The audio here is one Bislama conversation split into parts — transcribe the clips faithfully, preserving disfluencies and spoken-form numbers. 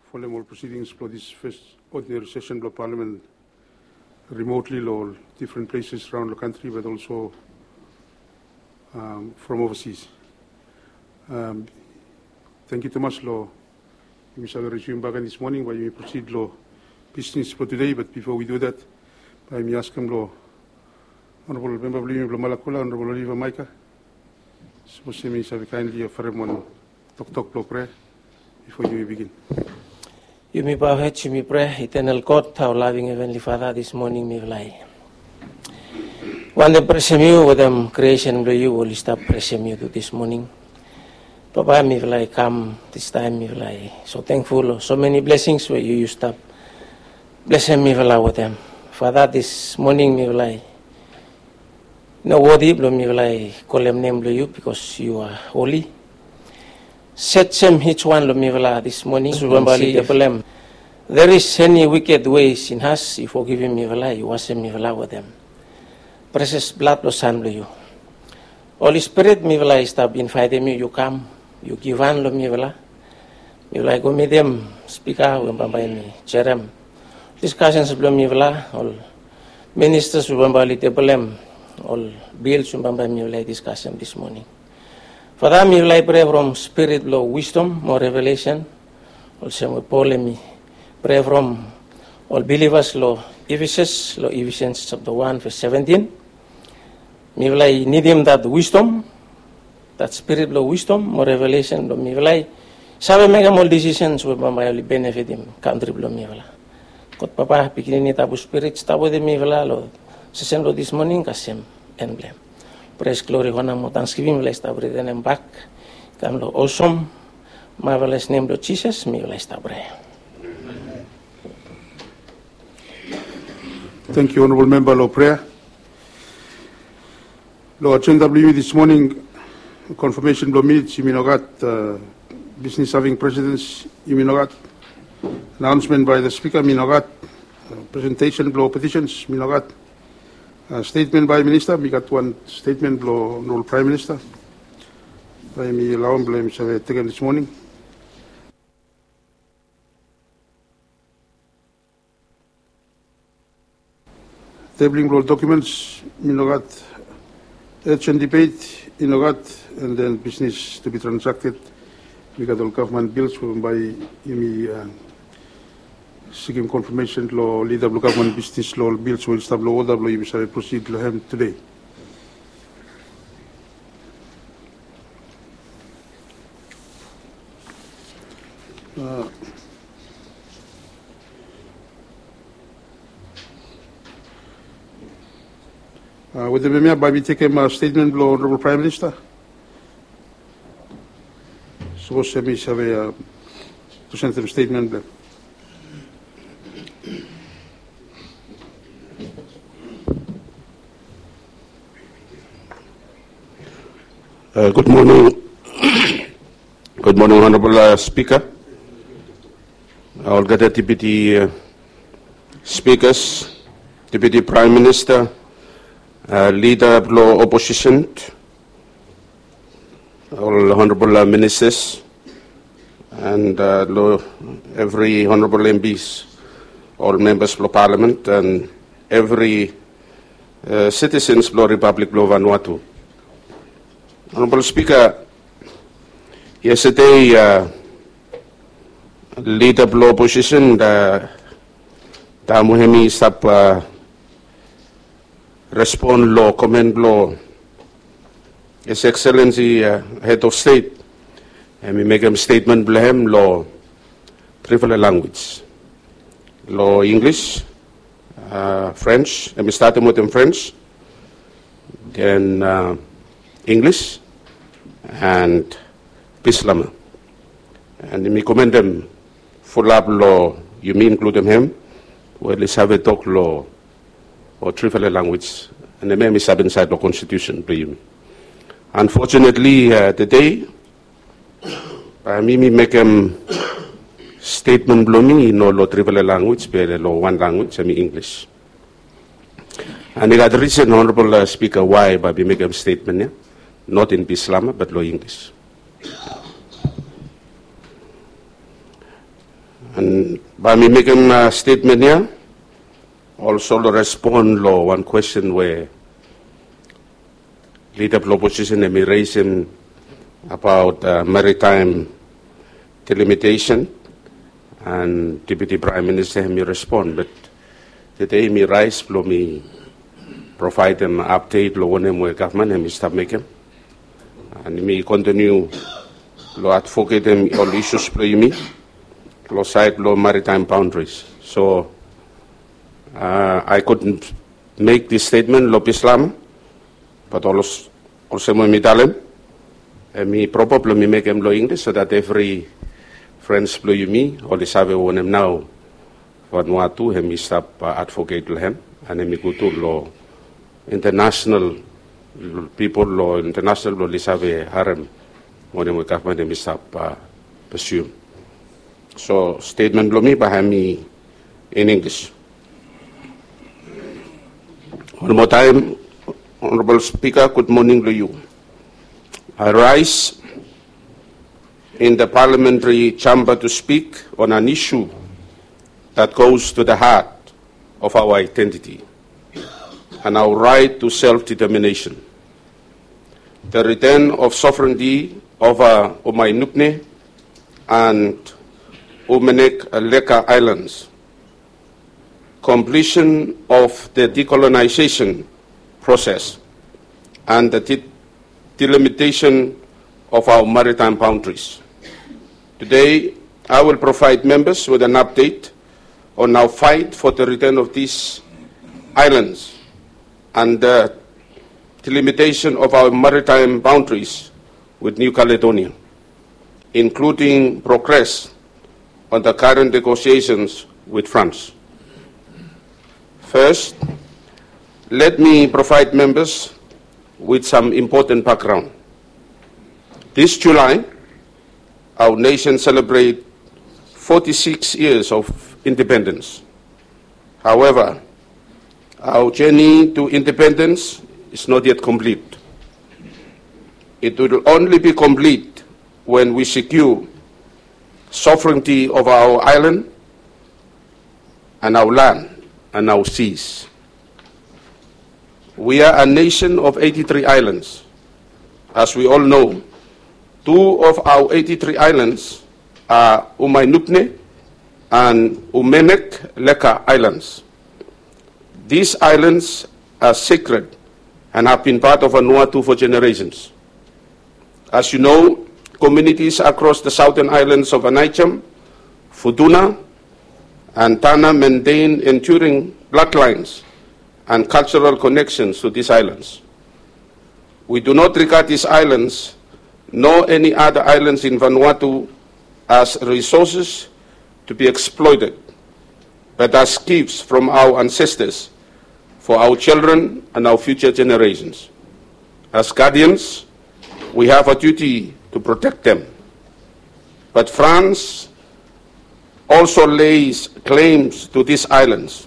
Folem ol proceedings blong this first ordinary session blong Parliament remotely long different places around the country, but also um, from overseas. Um, thank you, Thomas, long yumi save resume back this morning, bae yumi proceed long business for today. But before we do that, bae yumi askem long Honorable Member blong yumi blong Malakula, Honorable Oliver Maika, sapos yumi save kindly oferem wan toktok blong prea bifo yumi bigin. Yumi bow hed, yumi prea. Eternal God, our loving Heavenly Father, this morning mifala i wantem presem yu wetem creation blong yu we oli stap presem yu tu this morning. Papa, mifala i kam this time, mifala i so thankful long so many blessings we yu, yu stap blesem mifala wetem. Father, this morning mifala i no worthy blong mifala i kolem nem blong yu, because yu are holy. Search each one long mifala this morning. If there is any wicked ways in us, yu fogivim mifala, yu wasem mifala wetem precious blood blong Son blong yu. Holy Spirit, mifala i stap invaetem yu, yu kam, yu givhan long mifala. Mifala i go mitim spika we bambae hemi jerem discussions blong mifala, ol ministers we bambae oli tebolem ol bills we bambae mifala i discusem this morning. Father, mifala i prea from spirit blong wisdom mo revelation, olsem we Paul hemi prea from ol bilivas long Efesus, long Ephesians chapter one verse seventeen. Mifala i nidim that wisdom, that spirit blong wisdom mo revelation blong mifala i save mekem ol decisions we bambae oli benefitim kantri blong mifala. God Papa, Pikinini, Tabu Spirit, stap wetem mifala long session blong this morning kasem en blong hem. Praise, glory, honor mo thanksgiving mifala i stap returnem bak i kam long awesome, marvelous nem blong Jisas mifala i stap prea. Thank you, Honorable Member, long prea. Long agenda blong yumi this morning, confirmation blong minutes yumi no gat, uh, business having precedence yumi no gat, announcement by the speaker mi no gat, uh, presentation blong petitions mi no gat, uh, statement by minister. Mi gat wan statement blong Honorable Prime Minister. Bae mi alaoem blong hem save tekem this morning. Tabling blong documents mi no gat, urgent debate i no gat, and then business to be transacted. Mi gat ol government bills we bae yumi, uh, sikim confirmation long leader blong government business long ol bills we oli stap long order blong yumi save proceed long hem today. Uh, uh, wetem hemia bae mi tekem, uh, statement blong Honorable Prime Minister. Sapos hemi save, uh, presentem statement blong hem. Uh, good morning. Good morning, Honorable, uh, Speaker, olgeta Deputy, uh, Speakers, Deputy Prime Minister, uh, Leader blong Opposition, ol Honorable, uh, Ministers, and, uh, long evri Honorable M Ps, ol Members blong Parliament, and evri, uh, citizens blong Republic blong Vanuatu. Honorable Speaker, yestede, uh, Leader blong Opposition, uh, taem we hemi stap, uh, respon long comment blong His Excellency, uh, Head of State, hemi mekem statement blong hem long trifala language. Long English, uh, French, hemi statem wetem French, then, uh, English, and Bislama. And mi komendem fulap long yumi, inkludem hem, we oli save tok long ol trifala language, and hemia hemi stap insaed long konstitusen blong yumi. Unfortunately, uh, tede, uh, mi, mi mekem statement blong mi i no long trifala language, be long wan language, hemi English. And i gat risen, Honorable, uh, Speaker, why bae mi mekem statement ia not in Bislama, but long English. An bae mi mekem statement ia olsem long respon long wan kwesten we lida blong oposisen hemi resim abaot maritaem delimitesen, an Deputi Praem Minista hemi respon. Bat tede hemi raes blong mi provaedem apdet long wanem we gavman hemi stap mekem, an mi kontiniu long advoketem ol isus blong yumi long saed blong maritaem baondaris. So I couldn't mek dis stetmen long Bislama, bat olsem we mi talem, hemi propa blong mi mekem long Inglis so dat evri frens blong yumi oli save wanem nao Vanuatu hemi stap advoket long hem, an hemi go tu long internasenal pipol, long internasenal blong oli save harem wanem we gavman hemi stap pesium. So stetmen blong mi bae hemi in Inglis. Wan moa taem, Honorabol Spika, gud moning long yu. I rise in the parliamentary chamber to speak on an issue that goes to the heart of our identity and our right to self-determination. The return of sovereignty over Umainupne and Umenek Leka Islands, completion of the decolonization process, and the de- delimitation of our maritime boundaries. Today, I will provide members with an update on our fight for the return of these islands and the delimitation of our maritime boundaries with New Caledonia, including progress on the current negotiations with France. First, let me provide members with some important background. This July, our nation celebrate forty-six years of independence. However, our journey to independence is not yet complete. It will only be complete when we secure sovereignty over our island and our land and our seas. We are a nation of eighty-three islands. As we all know, two of our eighty-three islands are Umainupne and Umenek Leka Islands. These islands are sacred and have been part of Vanuatu for generations. As you know, communities across the southern islands of Aneityum, Futuna, and Tanna maintain enduring bloodlines and cultural connections to these islands. We do not regard these islands nor any other islands in Vanuatu as resources to be exploited, but as gifts from our ancestors for our children and our future generations. As guardians, we have a duty to protect them. But France also lays claims to these islands.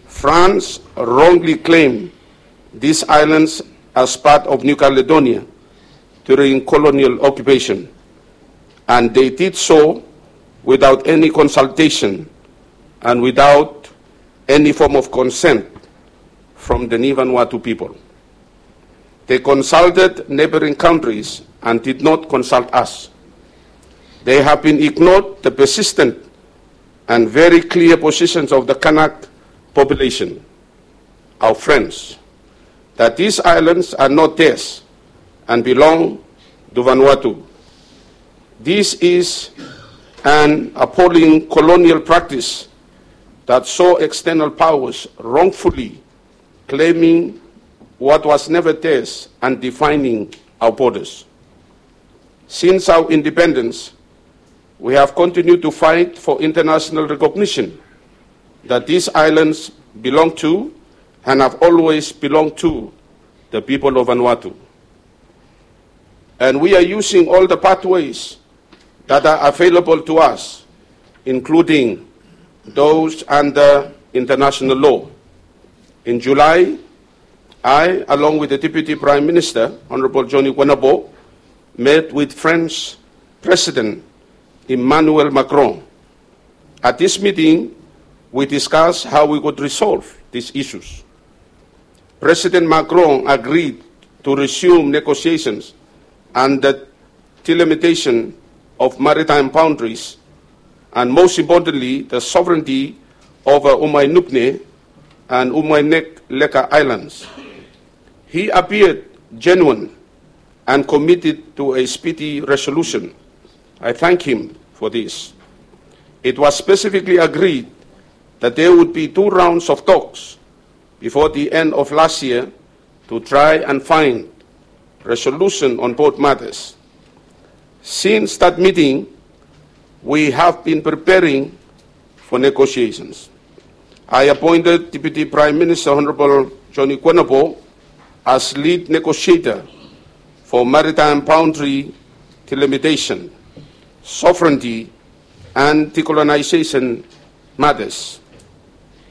France wrongly claimed these islands as part of New Caledonia during colonial occupation, and they did so without any consultation and without any form of consent from the Ni Vanuatu people. They consulted neighboring countries and did not consult us. They have been ignored the persistent and very clear positions of the Kanak population, our friends, that these islands are not theirs and belong to Vanuatu. This is an appalling colonial practice that saw external powers wrongfully claiming what was never theirs and defining our borders. Since our independence, we have continued to fight for international recognition that these islands belong to and have always belonged to the people of Vanuatu. And we are using all the pathways that are available to us, including those under international law. In July, I, along with the Deputy Prime Minister, Honorable Johnny Guenabo, met with French President Emmanuel Macron At this meeting, we discussed how we could resolve these issues. President Macron agreed to resume negotiations on the delimitation of maritime boundaries and, most importantly, the sovereignty over Umainupne and Umainekleka Islands. He appeared genuine and committed to a speedy resolution. I thank him for this. It was specifically agreed that there would be two rounds of talks before the end of last year to try and find resolution on both matters. Since that meeting, we have been preparing for negotiations. I appointed Deputy Prime Minister Honorable Johnny Kwenabo as lead negotiator for maritime boundary delimitation, sovereignty, and decolonization matters.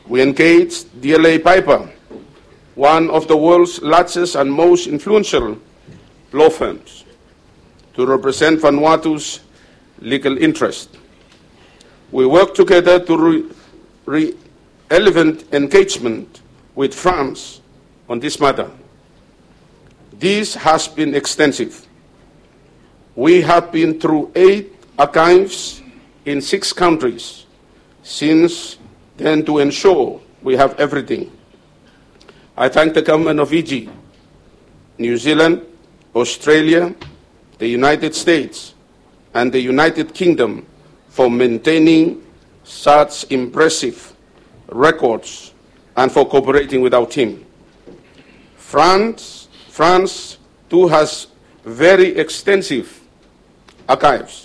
We engaged D L A Piper, one of the world's largest and most influential law firms, to represent Vanuatu's legal interest. We work together to re- relevant engagement with France on this matter. This has been extensive. We have been through eight archives in six countries since then to ensure we have everything. I thank the government of Fiji, New Zealand, Australia, the United States, and the United Kingdom for maintaining such impressive records and for cooperating with our team. France, France too has very extensive archives.